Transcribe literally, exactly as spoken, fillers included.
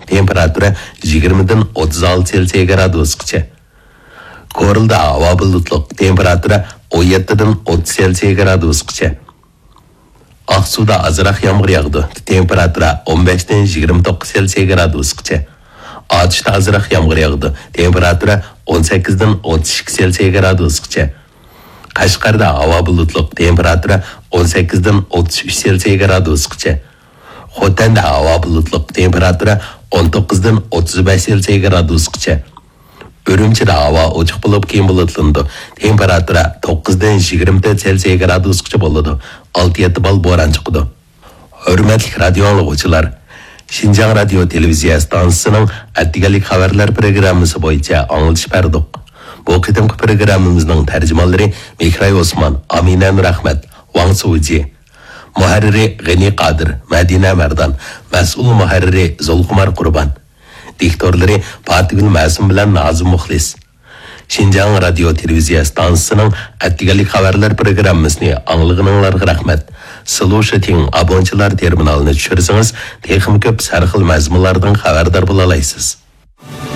تېمپېراتۇرا يىگىرمىدىن ئوتتۇز ئالتە سېلسىيە گرادۇسقىچە. كورلىدا ھاۋا بۇلۇتلۇق، تېمپېراتۇرا ئون يەتتىدىن ئوتتۇز سېلسىيە گرادۇسقىچە. ئاقسۇدا ئازراق يامغۇر ياغىدۇ، تېمپېراتۇرا ئون بەشتىن يىگىرمە توققۇز سېلسىيە گرادۇسقىچە. ئاتۇشتا ئازراق يامغۇر ياغىدۇ، تېمپېراتۇرا ئون سەككىزدىن ئوتتۇز ئىككى سېلسىيە گرادۇسقىچە. قەشقەردە ھاۋا بۇلۇتلۇق، تېمپېراتۇرا ئون سەككىزدىن ئوتتۇز ئۈچ سېلسىيە گرادۇسقىچە. خوتەندە ھاۋا بۇلۇتلۇق، تېمپېراتۇرا ئون توققۇزدىن ئوتتۇز بەش سېلسىيە گرادۇسقىچە. ئۈرۈمچىدە ھاۋا ئوچۇق بولۇپ، كېيىن بۇلۇتلىنىدۇ. تېمپېراتۇرا توققۇزدىن يىگىرمە تۆت سېلسىيە گرادۇسقىچە بولىدۇ. ئالتە يەتتە بال بوران چىقىدۇ. ھۆرمەتلىك رادىيو ئاڭلىغۇچىلار، شىنجاڭ رادىيو تېلېۋىزىيە ئىستانسىسىنىڭ ئەتىگەنلىك خەۋەرلەر پروگراممىسى بويىچە ئاڭلىتىش بەردۇق. بۇ قېتىمقى پروگراممىمىزنىڭ تەرجىمانلىرى مېھراي ئوسمان، ئامىنە نۇرئەخمەت، ۋاڭ سۇجى. مۇھەررىرى غېنى قادىر، مەدىنە مەردان، مەسئۇل مۇھەررىرى زۇلخۇمار قۇربان. دىكتورلىرى پاتىگۈل مەسۇم بىلەن نازىم مۇخلىس. شىنجاڭ رادىيو تېلېۋىزىيە ئىستانسىسىنىڭ ئەتىگەنلىك خەۋەرلەر پروگراممىسىنى ئاڭلىغىنىڭلارغا رەھمەت. سلۇشىتىڭ ئابونچىلار تېرمىنالىنى چۈشۈرسىڭىز، تېخىمۇ كۆپ سەرخىل مەزمۇنلاردىن خەۋەردار بولالايسىز.